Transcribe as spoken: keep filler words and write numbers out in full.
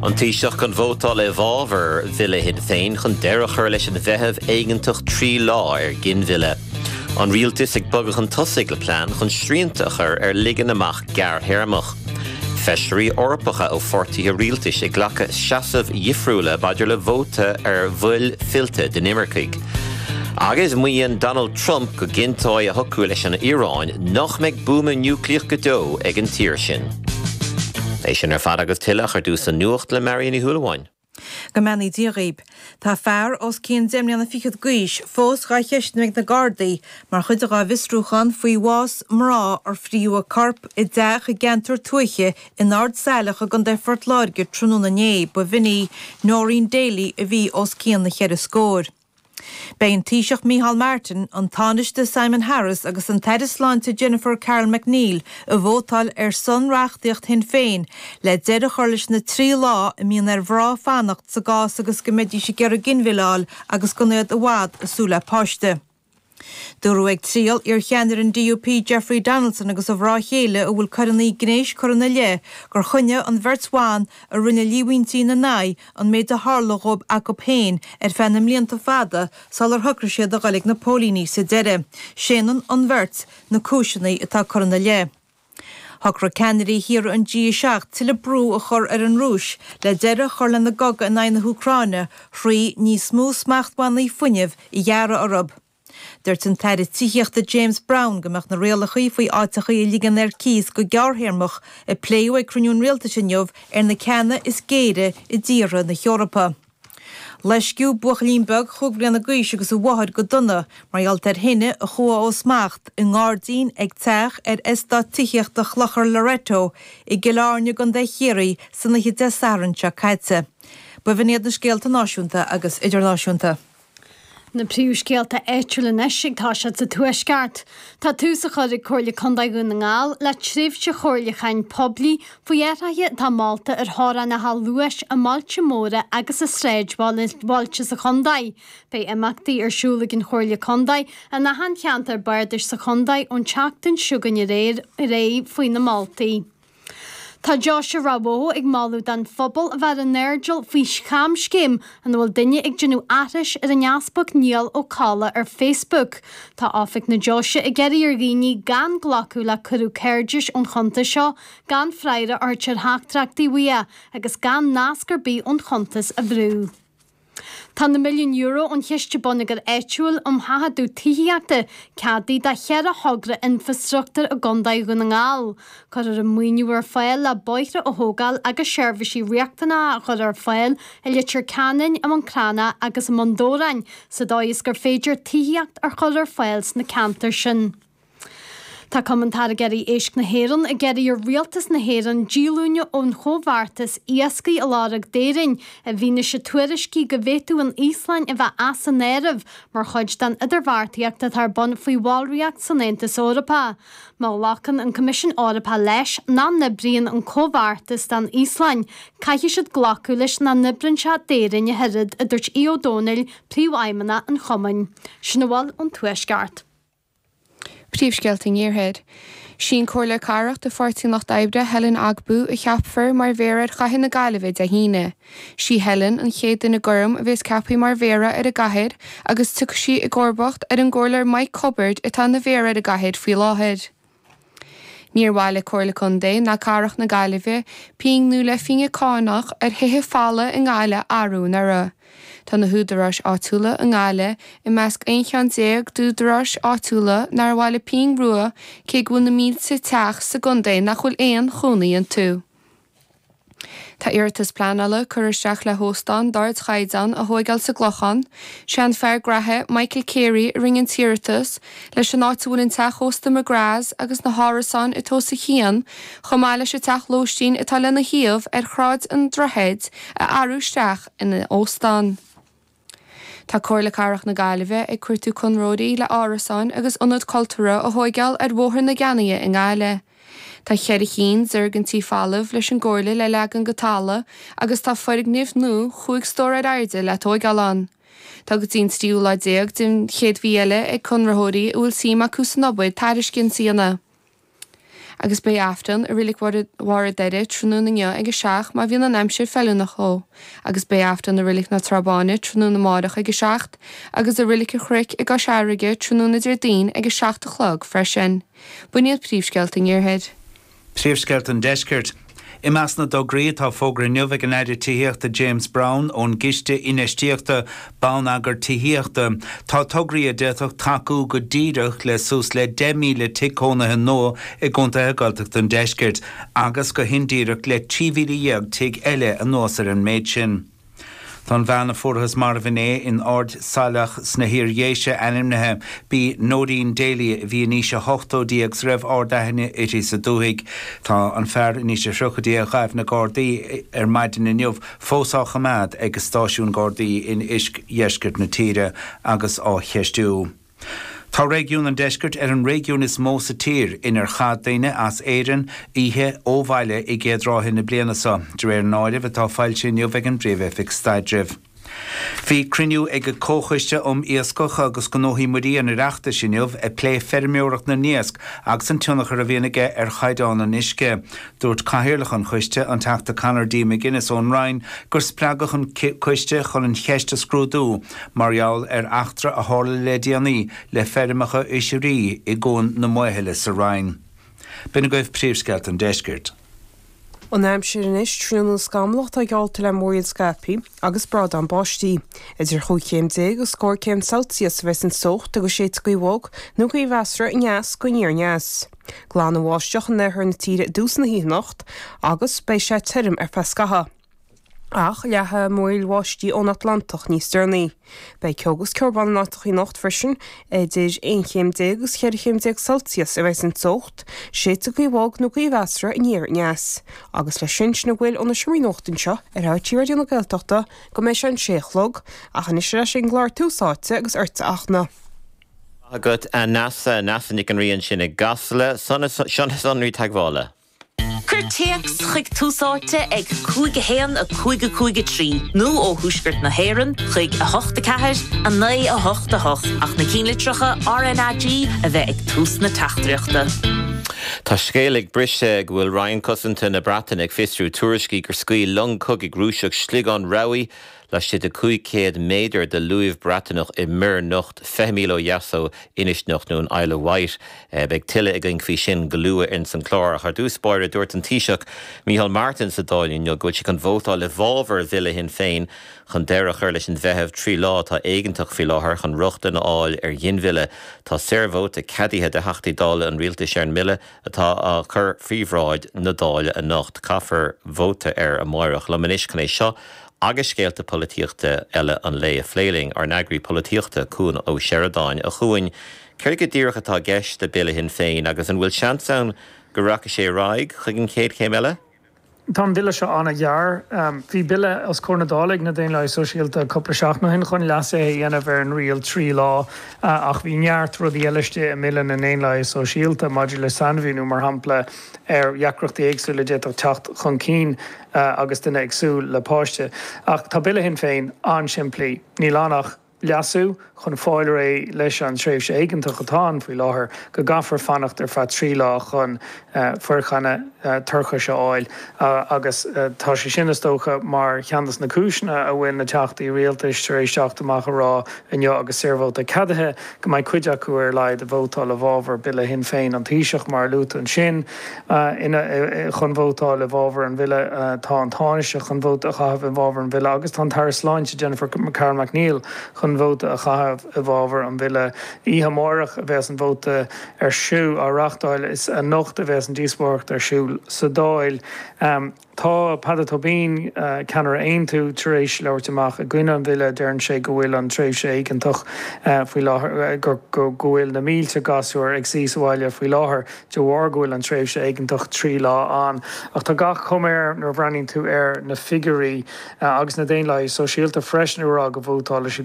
An Taoiseach chun vótáil i bhfabhar bhille Shinn Féin chun deireadh a chur leis an bhfeitheamh éigeantach trí lá ar ghinmhilleadh. An rialtas ag bogadh chun tosaigh le plean chun srianta a chur ar ligean amach gearrthéarmach. Feisirí Eorpacha ó pháirtithe rialtais ag glacadh seasaimh dhifriúla maidir le vóta ar bhill fillte d'inimircigh. Agus maíonn Donald Trump go gcinnteoidh a shocrú leis an Iaráin nach mbeidh buama núicléach go deo ag an tír sin. É sin ar fad agus tuilleadh ar dtús an nuacht le Marion Ní Shúilleabháin. Go mbeannaí Dia dhaoib. Tá fear os cionn deich mbliana fichead d'aois fós dhá cheistiú ag na Gardaí mar chuid dá bhfiosrúchán faoi bhás mná ar fríodh a corp i dteach i gceantar tuaithe in Ard Saileach i gContae Phort Láirge tráthnóna inné ba bh'in í Noreen Daly a bhí os cionn na cheithre scór. Beidh an Taoiseach Micheál Martin, an Tánaiste Simon Harris agus an tAire Sláinte Jennifer Carroll MacNeill ag vótáil ar son reachtaíocht Shinn Féin le deireadh a chur leis na trí lá a mbíonn ar mhná fanacht sa gcás agus go mbeidís ag iarraidh ginmhilleadh agus gan iad i bhfad ag súil le páiste. Dúradh ag triail iarcheannaire an DUP Jeffrey Donaldson agus a mhná chéile a bhfuil coireanna gnéis curtha ina leith gur choinnigh an bheirt bhan a rinne líomhaintí ina n-aghaidh an méid a tharla dóibh acu féin ar feadh na mblianta fada sular shocraigh siad a dhul ag na póilíní sa deireadh. Séanann an bheirt na cúiseanna atá curtha ina leith. Shocraigh ceannairí thíortha an G a seacht tuilleadh brú a chur ar an Rúis le deireadh a chur lena gcogadh in aghaidh na hÚcráine thrí níos mó smachtbhannaí fuinnimh a ghearradh orthu. Dúirt an tAire Tithíochta James Browne go mbeadh na rialacha faoi áiteacha a ligean ar cíos go gearrthéarmach a pléadh ag cruinniú an rialtais inniu ar na ceanna is géire i dtíortha na hEorpa. Loisceadh buachaillín beag chúig bliana d'aois agus a mháthair go dona mar gheall ar thine a chuaigh ó smacht i ngairdín ag teach ar eastát tithíochta Chlochar Loreto i gCill Airne i gContae Chiarraí san oíche Dé Sathairn seo caite. B'in iad na scéalta náisiúnta agus idirnáisiúnta. Na príomhscéalta áitiúla anois ag toiseacht sa Tuaisceart. Tá tús á chur ag Comhairle Contae Dhún na nGall le tréimhse chomhairliúcháin poiblí faoi athruithe atá molta ar theorainneacha luais i mbailte móra agus i sráidbhailte sa chontae. Beidh imeachtaí ar siúl ag an Chomhairle Contae in achan cheantar bardais sa chontae ón tseachtain seo chugainn ar aghaidh faoi na moltaí. Tá Deoise Ráth Bhoth ag moladh don phobal a bheith ar an airdeall faoi chamscéim ina bhfuil duine ag déanamh aithris ar an Easpag Niall Ó Colla ar Facebook. Tá oifig na Deoise ag iarraidh ar dhaoine gan glacadh le cuireadh cairdis ón chuntas seo, gan freagra a thabhairt ar theachtaireachtaí uaidh agus gan nasc ar bith ón chuntas a bhrú. Tá na milliún euro ón Chiste Bonneagair Áitiúil um Sheachadadh Tithíochta ceadaithe do cheithre thogra infreastruchtúir i gContae Dhún na nGall. Cuirfear an maoiniú ar fáil le bóithre a thógáil agus seirbhísí riachtanacha a chur ar fáil i Leitir Ceanainn, i mBun Cranncha agus i mBun Dobhráin sa dóigh is gur féidir tithíocht a chur ar fáil sna ceantair sin. Tá Cumann Táirgeoirí Éisc na hÉireann ag iarraidh ar Rialtas na hÉireann díolúine ón chomhbheartas iascaigh a lorg d'Éirinn i bhfianaise tuairiscí go bhféadfadh an Íoslainn a bheith as an áireamh mar chuid den idirbheartaíocht atá ar bun faoi bhallraíocht san Aontas Eorpach. Má ghlacann an Coimisiún Eorpach leis nach n-oibríonn an comhbheartas don Íoslainn, caithfidh siad glacadh leis nach n-oibríonn sé d'Éirinn ach oiread, a dúirt Aodh Ó Domhnaill, Príomhfheidhmeannach an Chumainn. Sin a bhfuil ón Tuaisceart. Príomhscéalta an Iarthair. Sí an Comhairleoir Cathrach de Pháirtí an Lucht Oibre Helen Ogbu a cheapfar mar mhéara ar chathair na Gaillimhe Dé hAoine. Sí Helen an chéad duine gorm a bheas ceaptha mar mhéara ar an gcathair agus tiocfaidh sí i gcomharbacht ar an gcomhairleoir Mike Cubbard atá ina mhéara ar an gcathair faoi láthair. Níor mhaith le Comhairle Contae ná Cathrach na Gaillimhe pingin nó leathphingin cánach ar thithe folamh i nGaillimh a athrú anuraidh. Tá na húdaráis áitiúla i nGaillimh i measc aon cheann déag d'údaráis áitiúla nár mhaith leo pingin rua cé go bhfuil na mílte teach sa gcontae nach bhfuil aon chónaí iontu. Tá iarratas pleanála curtha isteach le hóstán d'ardchaighdeán a thóigeáil sa gClochán. Sé an fear graithe Michael Carey a rinne an t-iarratas leis an áit a bhfuil an teach ósta McGrath's agus na hárasáin atá os a chionn, chomh maith leis an teach lóistín atá lena thaobh ar Shráid an Droichid a athrú isteach ina óstán. Tá Comhairle Cathrach na Gaillimhe ag cuartú conraitheoirí le árasáin agus ionad cultúrtha a thóigeáil ar Bhóthar na Ceannaighe i nGaillimh. Tá ceithre cinn d'fhoirgintí folamh leis an gComhairle le leagan go talamh agus tá foirgnimh nua chúig stór ar airde le tóigeáil ann. Tá go dtí an tríú lá déag den chéad mhí eile ag conraitheoirí a bhfuil suim acu san obair tairiscint a dhéanamh. Agus beidh Aifreann i Reilig Bharr an Doire tráthnóna inniu ag a seacht má bhíonn an aimsir feiliúnach dó, agus beidh Aifreann i Reilig na Trá Báine tráthnóna amárach ag a seacht, agus i Reilig an Chnoic i gCois Fharraige tráthnóna Déardaoin ag a seacht a chlog freisin. B'in iad príomhscéalta an Iarthair. Príomhscéalta an Deiscirt. I measc na dtograí atá fógartha inniu ag an Aire Tithíochta James Browne ón gCiste Infheistíochta Bonneagar Tithíochta, tá tograí a d'fhéadfadh tacú go díreach le suas le deich míle tigh cónaithe nua i gcontaetha Gaeltachta an Deiscirt agus go hindíreach le trí mhíle dhéag tigh eile anuas ar an méid sin. Tá an bhean a fuarthas marbh inné in Ard Saileach sna hIar-Dhéise ainmnithe. B'í Nóirín Daly a bhí in aois a hochtóidí agus a raibh ard-aithne uirthi sa dúthaigh. Tá an fear in aois a tríochaidí a ghabh na Gardaí ar maidin inniu fós á choimeád ag stáisiún Gardaí in oirdheisceart na tíre agus á cheistiú. Tá réigiún an Deiscirt ar an réigiún is mó sa tír inar chaith daoine as Éirinn oíche ó bhaile i gcéad ráithe na bliana seo, de réir an áirimh atá foilsithe inniu ag an bPríomh-Oifig Staidrimh. Bhí cruinniú ag Comhchoiste um Iascach agus Gnóthaí Muirí an Oireachtais inniu ag plé feirmeoireacht na n-iasc agus an tionchar a bhíonn aige ar chaighdeán an uisce. Dúirt Cathaoirleach an choiste, an Teachta Conor D. McGuinness ón Rinn, gur spreagadh an coiste chun an cheist a scrúdú mar gheall ar eachtra a tharla le déanaí le feirmeacha oisrí i gCuan na Maothaile sa Rinn. B'in agaibh príomhscéalta an Deiscirt. An aimsir anois tráthnóna scamallach atá geallta le múraíl scaipthe agus brádán báistí. Idir chúig chéim déag agus scór céim Celsius a bheas an teocht agus séidfidh gaoth bhog nó gaoth mheasartha aneas go aniar aneas. Glanbháisteach in oirthear na tíre i dtús na hoíche anocht agus beidh sé tirim ar feadh scaitheamh. Ach leathfaidh múraíl bháistí ón Atlantach níos deireanaí. Beidh ceo agus ceobhrán in áiteacha anocht freisin idir aon chéim déag agus cheithre chéim déag Celsius a bheas an teocht, séidfidh gaoth bhog nó gaoth mheasartha aniar aneas. Agus leis sin sin a bhfuil ó na seomraí nuachta anseo ar RTÉ Raidió na Gaeltachta go mbeidh sé an sé a chlog, ach anois ar ais ag an gclár Tús Áite agus ortsa a Fhachtna. Agat a Neasa Neasa Nic an Rí ansin i gCasla seo na sonraí teagmhála. Cuir téacs chuig Tús Áite ag cúig a haon a cúig a cúig a trí nó ó thuaisceart na hÉireann chuig a hocht a ceathair a naoi a hocht a hocht ach na ceannlitreacha RnaG a bheith ag tús na teachtaireachta. Tá scéal ag briseadh go bhfuil Roinn Cosanta na Breataine ag fiosrú tuairiscí gur scaoil long cogaidh Rúiseach sliogán rabhaidh laistigh de cúig chéad méadar de luamh Breataineach i Muir Nocht fiche míle ó dheas ó Inis Nocht nó an Isle of Wight. Beidh tuilleadh againn faoi sin go luath in san chlár ach ar dtús báire dúirt an Taoiseach Micheál Martin sa Dáil inniu go bhfuil sé chun vótáil i bhfabhar bhille Shinn Féin chun deireadh a chur leis an bhfeitheamh trí lá atá éigeantach faoi láthair chun rochtain a fháil ar ghinmhilleadh. Tá saorvóta ceadaithe do Theachtaí Dála an rialtais ar an mbille atá á chur faoi bhráid na Dála anocht. Caithfear vóta air amárach. Liom anois chun é seo agus scéalta polaitíochta eile an lae a phlé linn ár n-eagraí polaitíochta Cuan Ó Seireadáin a Chuain. Céard go díreach atá i gceist le bille Shinn Féin agus an bhfuil seans ann go rachaidh sé ar aghaidh chuig an chéad chéim eile? Tá an bille seo an-ghearr. Bhí bille os comhair na Dála ag na Daonlathaigh Sóisialta cúpla seachtain ó shin chun leasuithe a dhéanamh ar an riail trí lá ach bhí neart rudaí eile istigh i mbille na nDaonlathaithe Sóisialta maidir le sainmhíniú mar shampla ar dheacrachtaí éagsúla a d'fhéadfadh teacht chun cinn agus duine ag súil le páiste. Ach tá bille Shinn Féin an-simplí. Níl ann ach leasú chun fáil réidh leis an tréimhse éigeantach atá ann faoi láthair go gcaithfear fanacht ar feadh trí lá chun foirceannadh toirchis a fháil agus tá sé sin is dócha mar cheann de na cúiseanna a bhfuil na teachtaí rialtais tar éis teacht amach a rá inniu agus saorvóta ceadaithe go mbeidh cuid acu ar a laghad ag vótáil i bhfabhar bille Shinn Féin an Taoiseach mar a luaigh tú ansin chun vótáil i bhfabhar an bhille tá an Tánaiste chun vóta a chaitheamh i bhfabhar an bhille agus tá an tAire Sláinte Jennifer Carroll MacNeill chun vóta a chaitheamh i bhfabhar an bhille. Oíche amárach a bheas an vóta ar siúl á reáchtáil is anocht a bheas an díospóireacht ar siúl sa Dáil. Tá Peadar Tóibín, ceannaire Aontú, tar éis labhairt amach i gcoinne an bhille, deireann sé go bhfuil an tréimhse éigeantach faoi láthair, go bhfuil na mílte gasúr ag suí sa bhaile faoi láthair de bharr go bhfuil an tréimhse éigeantach trí lá ann. Ach tá gach cuma air nuair a bhreathnaíonn tú ar na figiúirí agus na Daonlathaigh Sóisialta freisin ag rá go vótálfaidh siad